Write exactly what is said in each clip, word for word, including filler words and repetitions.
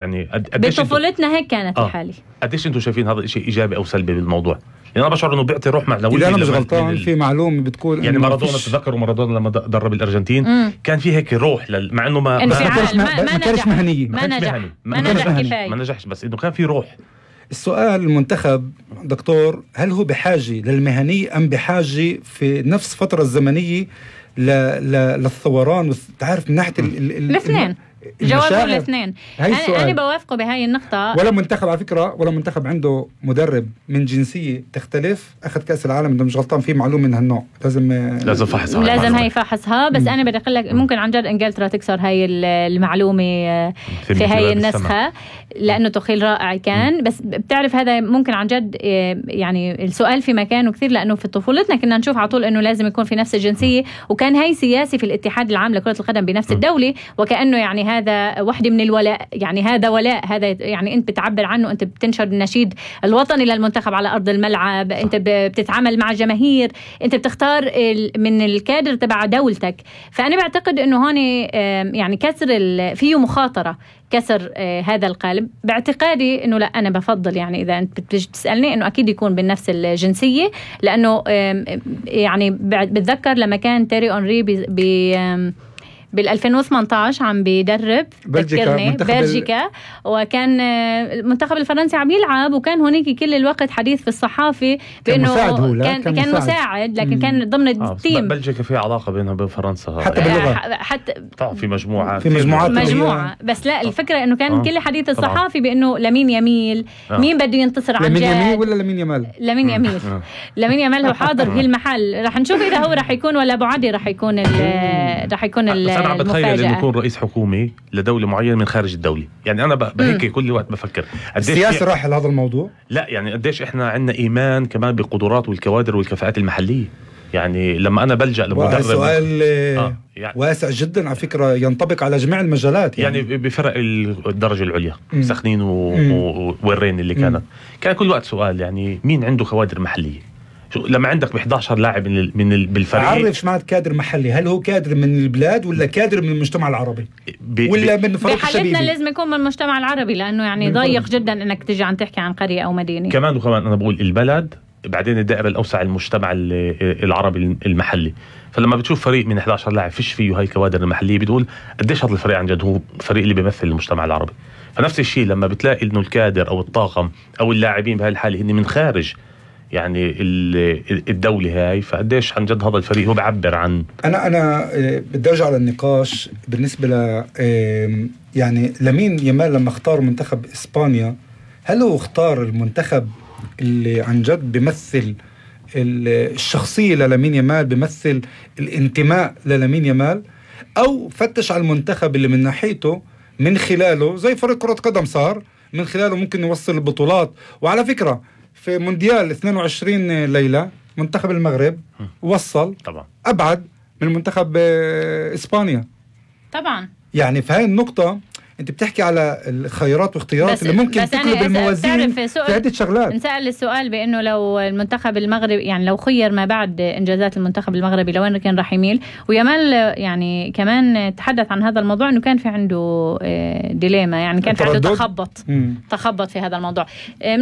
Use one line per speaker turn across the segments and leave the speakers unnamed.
يعني قديش
بطفولتنا هيك كانت
آه.
الحالة.
قديش انتم شايفين هذا الشيء ايجابي او سلبي بالموضوع؟ يعني انا بشعر انه بيعطي روح معنويه.
اذا انا مش غلطان في معلومه بتقول
يعني مارادونا، تذكروا مارادونا لما درب الارجنتين
مم.
كان في هيك روح لل... مع انه ما
انفعال،
ما,
ما,
ما, ما كانش مهنيه،
ما نجح
ما,
ما نجح كفايه،
ما نجحش، بس انه كان في روح.
السؤال المنتخب دكتور، هل هو بحاجه للمهنيه ام بحاجه في نفس الفتره الزمنيه ل... ل... للثوران؟ تعرف من ناحيه
الاثنين جوابه الاثنين. أنا, أنا بوافقه بهاي النقطة.
ولا منتخب على فكرة، ولا منتخب عنده مدرب من جنسية تختلف أخذ كأس العالم، إذا مش غلطان في معلومة من هالنوع لازم
لازم فحصها،
لازم هاي فحصها. بس م. أنا بدي أقول لك ممكن عن جد إنجلترا تكسر هاي المعلومة في, في هاي النسخة، لأنه تخيل رائع كان. بس بتعرف هذا ممكن عن جد يعني السؤال في مكانه كثير، لأنه في طفولتنا كنا نشوف على طول إنه لازم يكون في نفس الجنسية، وكان هاي سياسي في الاتحاد العام لكرة القدم بنفس الدولة، وكأنه يعني هذا واحدة من الولاء، يعني هذا ولاء، هذا يعني أنت بتعبر عنه، أنت بتنشر النشيد الوطني للمنتخب على أرض الملعب، أنت بتتعامل مع جماهير، أنت بتختار من الكادر تبع دولتك. فأنا بعتقد إنه هون يعني كسر فيه مخاطرة، كسر هذا القالب. باعتقادي إنه لا، أنا بفضل يعني إذا أنت بتسألني إنه أكيد يكون بنفس الجنسية، لأنه يعني بتذكر لما كان تيري أونري ب بالألفين وثمانية عشر عم بيدرب
بلجيكا,
بلجيكا وكان المنتخب الفرنسي عم يلعب، وكان هناك كل الوقت حديث في الصحافة بأنه
كان,
كان, كان مساعد. مساعد لكن مم. كان ضمن
آه
التيم.
بلجيكا في علاقة بينها وبين فرنسا
حتى باللغة،
حتى
في مجموعة
في مجموعات
مجموعة. بس لا، الفكرة إنه كان آه. كل حديث الصحافي بأنه لمين يميل آه. مين بده ينتصر عن جد،
لمين يميل ولا لمين يمال
لمين يميل آه. لمين يمال هو حاضر في المحل. رح نشوف إذا هو رح يكون ولا أبو عدي رح يكون رح يكون المفاجأة.
يكون رئيس حكومي لدولة معينة من خارج الدولة. يعني أنا بهيك كل وقت بفكر
السياسة راح لهذا الموضوع.
لا يعني قديش إحنا عندنا إيمان كمان بالقدرات والكوادر والكفاءات المحلية. يعني لما أنا بلجأ لمدرب،
سؤال آه يعني واسع جدا على فكرة، ينطبق على جميع المجالات. يعني, يعني
بفرق الدرجة العليا سخنين وورين اللي كانت كان كل وقت سؤال يعني مين عنده كوادر محلية. لما عندك ب إحدى عشر لاعب من من بالفريق،
عرف شو معنى كادر محلي؟ هل هو كادر من البلاد ولا كادر من المجتمع العربي ولا من فريق الشبيبي؟
بحالتنا لازم يكون من المجتمع العربي، لانه يعني ضيق جدا انك تيجي عم تحكي عن قرية او مدينة.
كمان وكمان انا بقول البلد، بعدين الدائرة الاوسع المجتمع العربي المحلي. فلما بتشوف فريق من إحدى عشر لاعب فيش فيه هاي الكوادر المحلية، بتقول قديش هذا الفريق عن جد هو فريق اللي بيمثل المجتمع العربي. فنفس الشيء لما بتلاقي انه الكادر او الطاقم او اللاعبين بهاي الحالة هن من خارج يعني الدولة هاي، فقديش عن جد هذا الفريق هو بعبر عن.
أنا أنا بدي أرجع للنقاش بالنسبة ل يعني لامين يامال لما اختار منتخب إسبانيا، هل هو اختار المنتخب اللي عن جد بيمثل الشخصية للامين يامال، بيمثل الانتماء للامين يامال، أو فتش على المنتخب اللي من ناحيته من خلاله زي فريق كرة قدم صار من خلاله ممكن يوصل البطولات؟ وعلى فكرة في مونديال اثنين وعشرين ليلة منتخب المغرب وصل
طبعا
أبعد من منتخب إسبانيا
طبعا. يعني
في هاي النقطة أنت بتحكي على الخيارات واختيارات اللي ممكن تقلب الموازين في عدة شغلات.
نسأل السؤال بأنه لو المنتخب المغربي يعني لو خير ما بعد إنجازات المنتخب المغربي لوين كان راح يميل؟ ويامال يعني كمان تحدث عن هذا الموضوع إنه كان في عنده ديليما، يعني كان في عنده تخبط مم. تخبط في هذا الموضوع.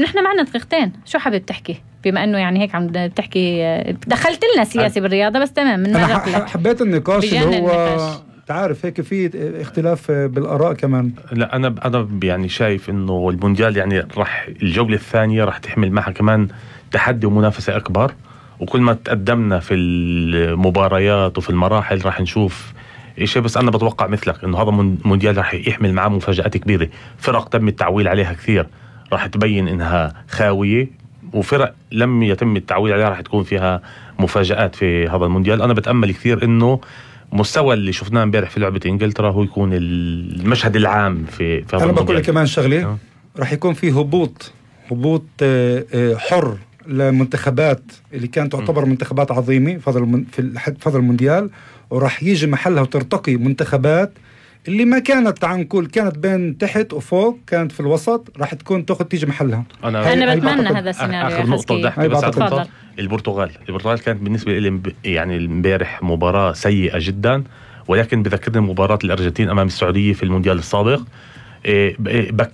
نحن معنا دقيقتين، شو حابب تحكي بما انه يعني هيك عم بتحكي دخلت لنا سياسي بالرياضه؟ بس تمام.
انا حبيت النقاش اللي هو تعرف هيك في اختلاف بالاراء كمان.
لا انا انا يعني شايف انه المونديال يعني راح الجوله الثانيه راح تحمل معها كمان تحدي ومنافسه اكبر، وكل ما تقدمنا في المباريات وفي المراحل راح نشوف شيء. بس انا بتوقع مثلك انه هذا مونديال راح يحمل معاه مفاجآت كبيره. فرق تم التعويل عليها كثير راح تبين انها خاويه، وفرق لم يتم التعويل عليها راح تكون فيها مفاجآت في هذا المونديال. انا بتامل كثير انه مستوى اللي شفناه امبارح في لعبة انجلترا هو يكون المشهد العام في في هذا
المونديال. انا بقول لك كمان شغله أه. راح يكون في هبوط هبوط حر لمنتخبات اللي كانت تعتبر م. منتخبات عظيمه في في هذا المونديال، وراح يجي محلها وترتقي منتخبات اللي ما كانت عن كل كانت بين تحت وفوق، كانت في الوسط، راح تكون تاخذ تيجي محلها.
انا, أنا بتمنى هذا السيناريو.
اخر نقطه بدي احكي بس على البرتغال. البرتغال كانت بالنسبه لي يعني امبارح مباراه سيئه جدا، ولكن بذكرني مباراه الارجنتين امام السعوديه في المونديال السابق. بك